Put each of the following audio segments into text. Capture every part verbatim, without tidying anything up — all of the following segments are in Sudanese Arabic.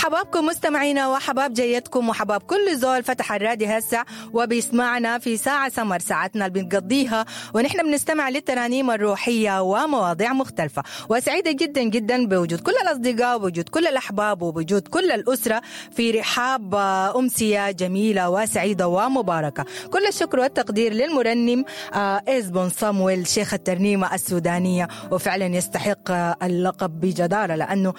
حبابكم مستمعينا وحباب جيتكم وحباب كل زول فتح الراديو هسه وبيسمعنا في ساعة سمر، ساعتنا اللي بنقضيها ونحن بنستمع للترانيم الروحية ومواضيع مختلفة. وسعيدة جدا جدا بوجود كل الأصدقاء وبوجود كل الأحباب وبوجود كل الأسرة في رحاب أمسية جميلة وسعيدة ومباركة. كل الشكر والتقدير للمرنم إزبون صامويل شيخ الترنيمة السودانية، وفعلا يستحق اللقب بجدارة لأنه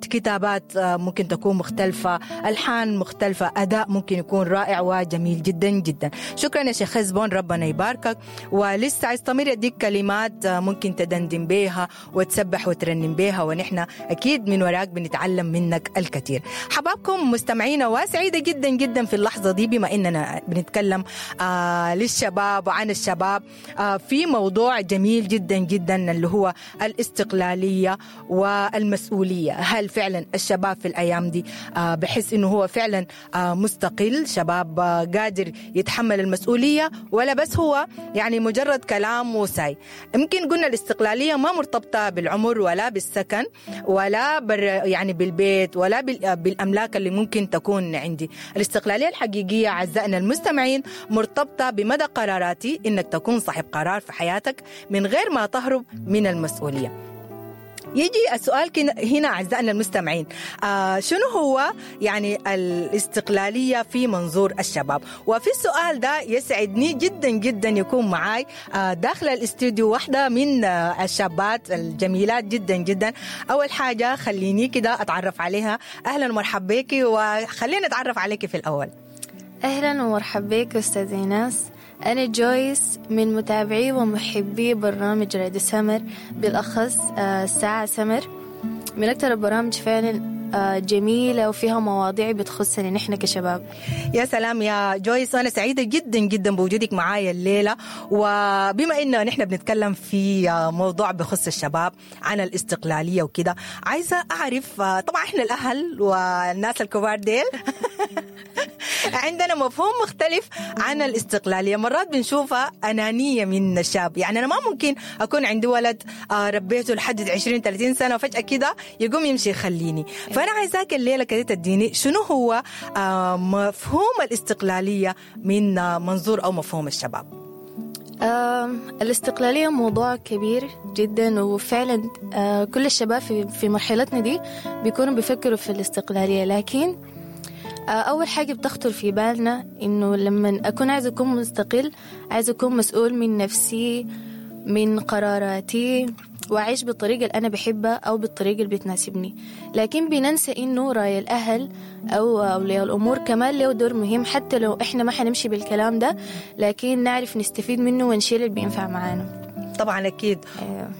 كتابات ممكن تكون مختلفة، ألحان مختلفة، أداء ممكن يكون رائع وجميل جدا جدا. شكرا يا شيخ إزبون، ربنا يباركك. ولسه عايز يديك كلمات ممكن تدندن بيها وتسبح وترنم بيها، ونحن أكيد من وراك بنتعلم منك الكثير. حبابكم مستمعينا، وسعيدة جدا جدا في اللحظة دي بما إننا بنتكلم آه للشباب وعن الشباب آه في موضوع جميل جدا جدا اللي هو الاستقلالية والمسؤولية. هل فعلا الشباب في الأيام دي آه بحس إنه هو فعلا آه مستقل، شباب آه قادر يتحمل المسؤولية، ولا بس هو يعني مجرد كلام وساي؟ يمكن قلنا الاستقلالية ما مرتبطة بالعمر ولا بالسكن ولا بر يعني بالبيت ولا بالأملاك اللي ممكن تكون عندي. الاستقلالية الحقيقية أعزائنا المستمعين مرتبطة بمدى قراراتي، إنك تكون صاحب قرار في حياتك من غير ما تهرب من المسؤولية. يجي السؤال هنا أعزائنا المستمعين، آه شنو هو يعني الاستقلالية في منظور الشباب؟ وفي السؤال ده يسعدني جدا جدا يكون معاي آه داخل الاستوديو واحدة من آه الشابات الجميلات جدا جدا. أول حاجة خليني كده أتعرف عليها. أهلا ومرحبا بك، وخلينا نتعرف عليك في الأول. أهلا ومرحبا بك أستاذ إيناس. أنا جويس من متابعي ومحبي برنامج راديو سمر، بالأخص ساعة سمر. من أكثر البرامج فعلا جميلة وفيها مواضيع بتخصنا نحن كشباب. يا سلام يا جويس، أنا سعيدة جدا جدا بوجودك معايا الليلة. وبما إنه نحن بنتكلم في موضوع بخص الشباب عن الاستقلالية وكده، عايزة أعرف، طبعا إحنا الأهل والناس الكبار ديل عندنا مفهوم مختلف عن الاستقلالية، مرات بنشوفها أنانية من الشاب. يعني أنا ما ممكن أكون عندي ولد ربيته لحد عشرين ثلاثين سنة وفجأة كده يقوم يمشي يخليني. فأنا عايزاك الليلة كده تديني شنو هو مفهوم الاستقلالية من منظور أو مفهوم الشباب. الاستقلالية موضوع كبير جدا، وفعلا كل الشباب في مرحلتنا دي بيكونوا بيفكروا في الاستقلالية. لكن أول حاجة بتخطر في بالنا إنه لما أكون عايز أكون مستقل، عايز أكون مسؤول من نفسي، من قراراتي، وأعيش بالطريقة اللي أنا بحبها أو بالطريقة اللي بتناسبني. لكن بننسى إنه رأي الأهل أو أولياء الأمور كمان له دور مهم، حتى لو إحنا ما حنمشي بالكلام ده، لكن نعرف نستفيد منه ونشيل اللي بينفع معانا. طبعا أكيد.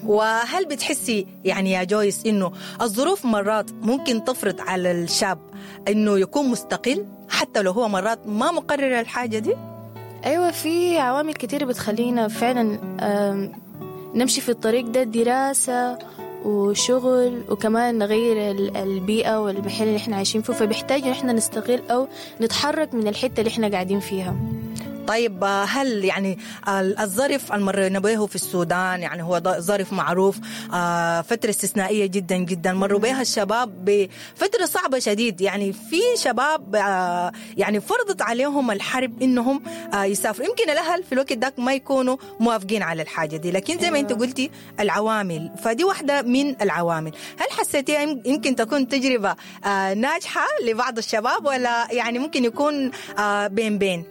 وهل بتحسي يعني يا جويس إنه الظروف مرات ممكن تفرض على الشاب إنه يكون مستقل حتى لو هو مرات ما مقرر الحاجة دي؟ أيوة، في عوامل كتير بتخلينا فعلا نمشي في الطريق ده، دراسة وشغل، وكمان نغير البيئة والمحل اللي احنا عايشين فيه، فبيحتاج إن احنا نستقل أو نتحرك من الحتة اللي احنا قاعدين فيها. طيب هل يعني الظرف المرينا به في السودان، يعني هو ظرف معروف، فترة استثنائية جدا جدا مروا بها الشباب بفترة صعبة شديد، يعني في شباب يعني فرضت عليهم الحرب إنهم يسافروا، يمكن الأهل في الوقت داك ما يكونوا موافقين على الحاجة دي، لكن زي ما أنت قلتي العوامل، فدي واحدة من العوامل. هل حسيتيها يمكن تكون تجربة ناجحة لبعض الشباب، ولا يعني ممكن يكون بين بين؟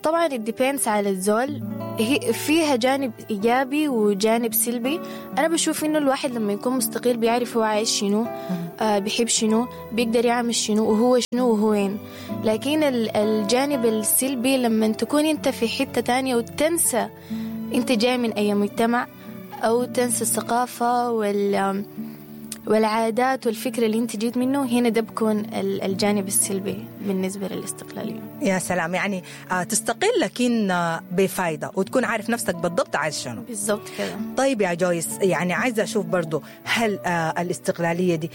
طبعا it depends على الزول، هي فيها جانب إيجابي وجانب سلبي. أنا بشوف إنه الواحد لما يكون مستقل بيعرف هو عايش شنو، آه بيحب شنو، بيقدر يعمل شنو، وهو شنو وهو وين. لكن الجانب السلبي لما تكون أنت في حتة تانية وتنسى أنت جاي من أي مجتمع، أو تنسى الثقافة وال والعادات والفكرة اللي انت جيت منه، هنا ده بكون الجانب السلبي بالنسبة للاستقلالية. يا سلام، يعني تستقل لكن بفايدة، وتكون عارف نفسك بالضبط عايز شنو بالضبط كده. طيب يا جويس، يعني عايزة أشوف برضو هل الاستقلالية دي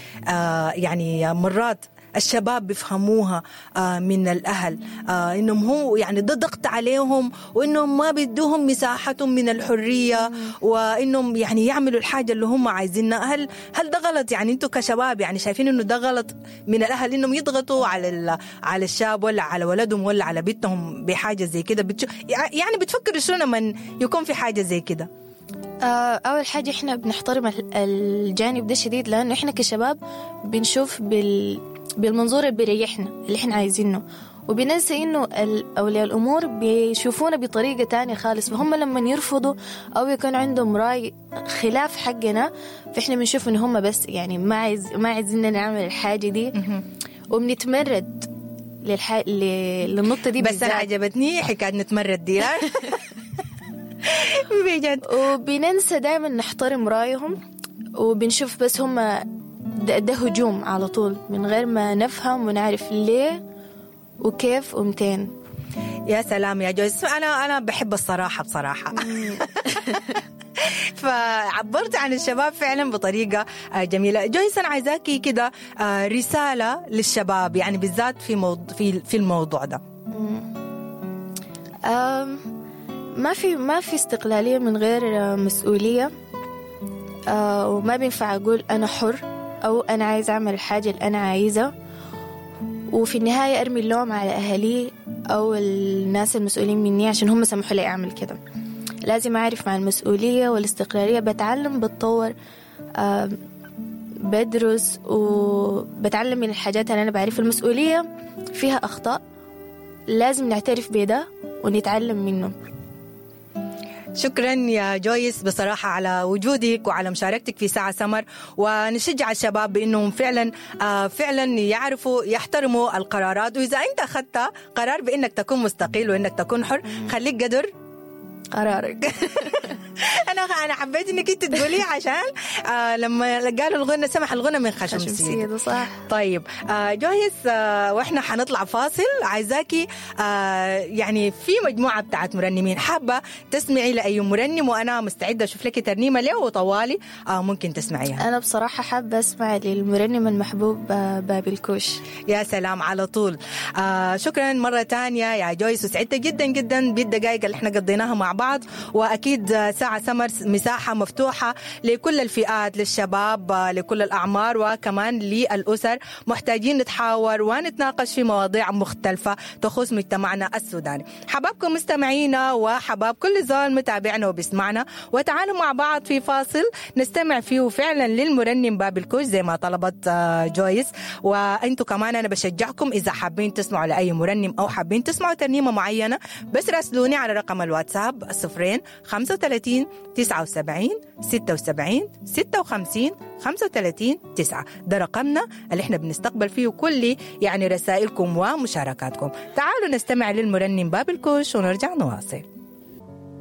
يعني مرات الشباب بيفهموها آه، من الأهل، آه، إنهم هو يعني ده ضغط عليهم، وإنهم ما بيدوهم مساحتهم من الحرية، وإنهم يعني يعملوا الحاجة اللي هم عايزينها. هل هل ده غلط؟ يعني أنتوا كشباب يعني شايفين إنه ده غلط من الأهل إنهم يضغطوا على ال- على الشاب ولا على ولدهم ولا على بنتهم بحاجة زي كده؟ بتشو يعني بتفكروا شنو لما يكون في حاجة زي كده؟ آه، أول حاجة إحنا بنحترم ال- الجانب ده شديد، لأنه إحنا كشباب بنشوف بال... بالمنظور اللي بيريحنا اللي إحنا عايزينه، وبننسى إنه ال- أولياء الأمور بيشوفونا بطريقة تانية خالص. فهم لما يرفضوا أو يكون عندهم رأي خلاف حقنا، فإحنا بنشوف إن هم بس يعني ما عايز ما عايزيننا نعمل الحاجة دي، وبنتمرد للح... ل... للنقطة دي بس أنا بالذات. عجبتني حكاية نتمرد دي بجد. وبننسى دائما نحترم رأيهم، وبنشوف بس هم ده, ده هجوم على طول من غير ما نفهم ونعرف ليه وكيف ومتين. يا سلام يا جويس، أنا أنا بحب الصراحة بصراحة. فعبرت عن الشباب فعلا بطريقة آه، جميلة. جويس أنا عايزاكي كده آه، رسالة للشباب، يعني بالذات في موضوع في في الموضوع ده. أم، ما في ما في استقلالية من غير آه، مسؤولية، آه، وما بينفع أقول أنا حر أو أنا عايز أعمل الحاجة اللي أنا عايزة وفي النهاية أرمي اللوم على أهلي أو الناس المسؤولين مني عشان هم سمحوا لي أعمل كده. لازم أعرف مع المسؤولية والاستقلالية بتعلم، بتطور، آه، بدرس وبتعلم من الحاجات اللي أنا بعرفها. المسؤولية فيها أخطاء لازم نعترف بده ونتعلم منه. شكرا يا جويس بصراحة على وجودك وعلى مشاركتك في ساعة سمر، ونشجع الشباب بأنهم فعلا آه فعلا يعرفوا يحترموا القرارات، وإذا أنت أخذت قرار بأنك تكون مستقل وأنك تكون حر خليك قدر قرارك. أنا أنا حبيت إنك أنت تقولي عشان آه لما قالوا الغنى سمح الغنى من خشم خشم سيد. سيد، صح. طيب آه جويس، آه واحنا حنطلع فاصل، عايزاكي آه يعني في مجموعة بتاعت مرنمين حابة تسمعي لأي مرنم، وأنا مستعدة أشوف لك ترنيمة له وطوالي آه ممكن تسمعيها. أنا بصراحة حابة أسمع للمرنم المحبوب آه، بابي الكوش. يا سلام على طول. آه شكرا مرة تانية يا جويس، وسعدت جدا جدا بالدقائق اللي احنا قضيناها مع بعض، وأكيد آه، ساعة سمر مساحة مفتوحة لكل الفئات، للشباب، آه، لكل الأعمار، وكمان للأسر. محتاجين نتحاور ونتناقش في مواضيع مختلفة تخص مجتمعنا السوداني. حبابكم مستمعينا وحباب كل زول متابعنا وبيسمعنا، وتعالوا مع بعض في فاصل نستمع فيه فعلا للمرنم باب الكوش زي ما طلبت آه، جويس. وانتوا كمان انا بشجعكم اذا حابين تسمعوا لاي مرنم او حابين تسمعوا ترنيمه معينه، بس راسلوني على رقم الواتساب صفرين خمسة وثلاثين تسعة وسبعين ستة وسبعين ستة وخمسين خمسة وثلاثين تسعة. ده رقمنا اللي احنا بنستقبل فيه كل يعني رسائلكم ومشاركاتكم. تعالوا نستمع للمرنم باب الكوش ونرجع نواصل.